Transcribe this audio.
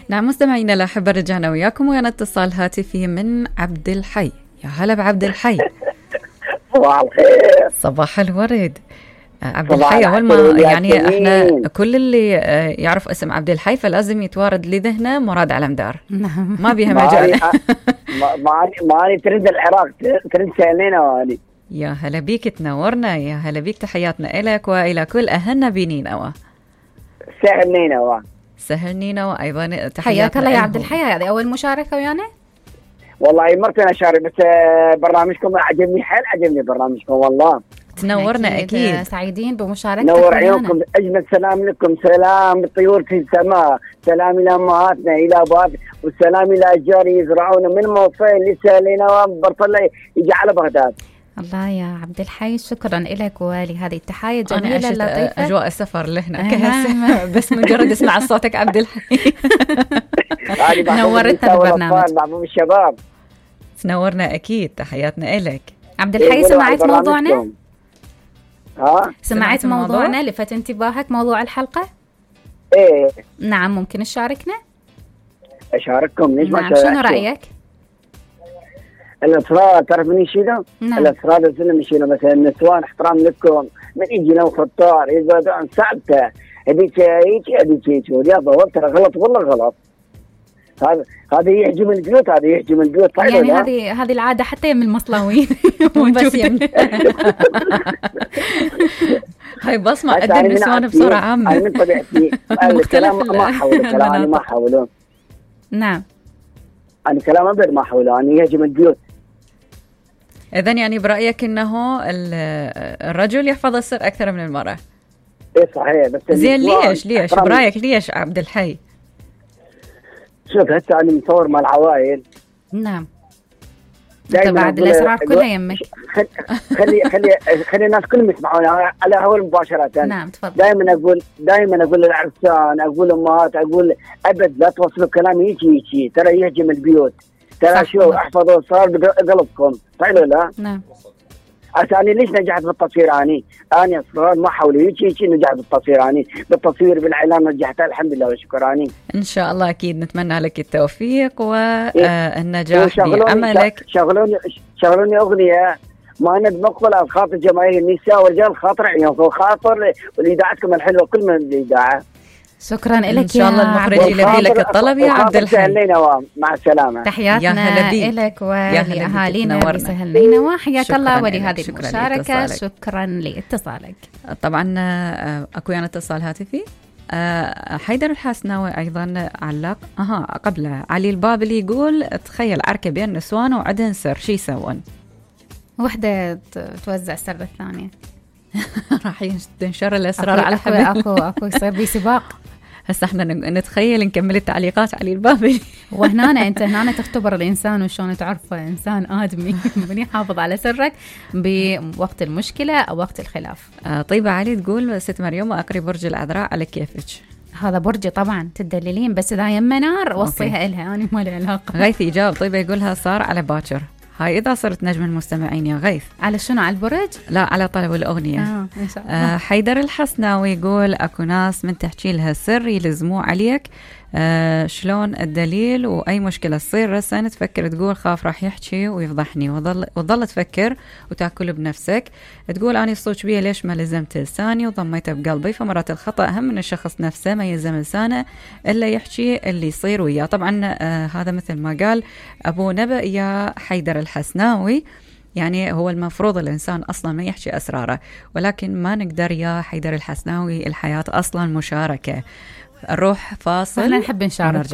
نعم مستمعينا الأحبة، رجعنا وياكم ويانا اتصال هاتفي من عبد الحي. يا هلا بعبد الحي. صباح الخير. صباح الورد عبد الحي. أول ما يعني احنا كل اللي يعرف اسم عبد الحي فلازم يتوارد لذهنه مراد علمدار. ما بيها مجال. ماني ترند العراق، ترند سالينا واني. يا هلا بيك، تنورنا. يا هلا بيك، تحياتنا إلك وإلى كل أهلنا بنينوى. سهل نينوى. سهل نينوى أيضا تحياتنا. حياك الله يا عبد الحي، هذه أول مشاركة ويانا. والله مرتين أشارك، بس برنامجكم عجبني، حيل عجبني برنامجكم والله. تنورنا أكيد. سعيدين بمشاركتك. نور عيونكم، أجمل سلام لكم، سلام الطيور في السماء، سلام إلى أمهاتنا إلى أبوات، والسلام إلى أشجار يزرعون من موصل لسالينا وبرطلة يجي على بغداد. الله يا عبد الحي، شكرا لك ولهذه التحاية الجميلة اللطيفة. أجواء السفر لهنا بس مجرد اسمع صوتك عبد الحي. نورتنا بالبرنامج. محبوب الشباب. تنورنا أكيد، تحياتنا إلك عبد الحي. سمعت موضوعنا؟ سمعت موضوعنا لفت انتباهك موضوع الحلقة؟ إيه نعم، ممكن تشاركنا؟ أشارككم. ليش ما نعم، شنو رأيك؟ الأسرار تعرف من يشيله؟ نعم. الأسرار لازم يشيله، مثلا النسوان احترام لكم، من يجي لو خطار يقعدون صعبته هذيك هذيك والرياضة ترى غلط والله غلط. هذا يحجم البيوت، هذا يحجم البيوت. يعني هذه العادة حتى يم المصلاوين موجودة. هاي بصمة قد النسوان بصورة عامة. أنا من طبيعتي الكلام ما حاوله، كلام أنا ما حاوله. نعم، أنا كلام أبد ما حاوله، أنا يهجم البيوت. إذن يعني برأيك إنه الرجل يحفظ السر أكثر من المرأة؟ إيه صحيح. بس زين ليش برأيك ليش عبد الحي؟ شوف هسه أنا مصور مع العوائل. نعم. بعد الأسرار كلها يمك. خلي الناس كلهم يسمعونا على هوا مباشرة. نعم تفضل. دائما أقول للعرسان، أقول للأمهات، أقول أبد لا توصلوا كلام يجي ترى يهجم البيوت. ترى شو احفظوا صار بقلبكم، صحيح ولا لا؟ نعم. أنا ليش نجحت بالتصوير؟ أنا أصلا ما حاولوا يجي نجحت بالتصوير، بالتصوير بالإعلام نجحت الحمد لله والشكر. إن شاء الله أكيد نتمنى لك التوفيق والنجاح بعملك. شغلوني أغنية ما ند مقبلة خاطر جماهير النساء والرجال، خاطر عيونكم، خاطر ولإذاعتكم الحلوة كل من الإذاعة. شكرا لك إن شاء الله المخرج يلبي لك الطلب يا عبد الحي. مع السلامة. تحياتنا لك ولأهالينا بسهل نينوى. حياك الله ولهذه المشاركة. شكرا لاتصالك. طبعا أكو يعني اتصال هاتفي. حيدر الحسناوي أيضا علق قبل علي البابلي يقول تخيل عركة بين نسوان وعدن سر، شي يسوون؟ وحدة توزع سر الثانية. راح ينشر الأسرار على حبل. أكو يصير بي سباق. هسه احنا نتخيل نكمل التعليقات على البابلي. انت هنا تختبر الانسان وشون تعرفه انسان ادمي من يحافظ على سرك بوقت المشكله او وقت الخلاف. طيبه علي تقول ست مريم اقري برج العذراء على كيفك. هذا برجي طبعا تدللين، بس اذا يم نار وصيها الها، انا ما لي علاقه. غيث يجاوب طيبه يقولها صار على باكر. هاي إذا صرت نجم المستمعين يا غيث. على شنو؟ على البرج؟ لا على طلب الأغنية. إن شاء الله. حيدر الحسناوي يقول أكو ناس من تحكي لها سر يلزموه عليك. شلون الدليل؟ وأي مشكلة تصير رسن تفكر تقول خاف راح يحكي ويفضحني، وظل تفكر وتأكل بنفسك. تقول أنا الصوت بيه ليش ما لزمت لساني وضميته بقلبي، فمرات الخطأ أهم من الشخص نفسه، ما يلزم لسانه إلا يحكي اللي يصير وياه. طبعا هذا مثل ما قال أبو نبأ يا حيدر الحسناوي، يعني هو المفروض الإنسان أصلا ما يحكي أسراره، ولكن ما نقدر يا حيدر الحسناوي، الحياة أصلا مشاركة. نروح فاصل. أنا نحب نشارك.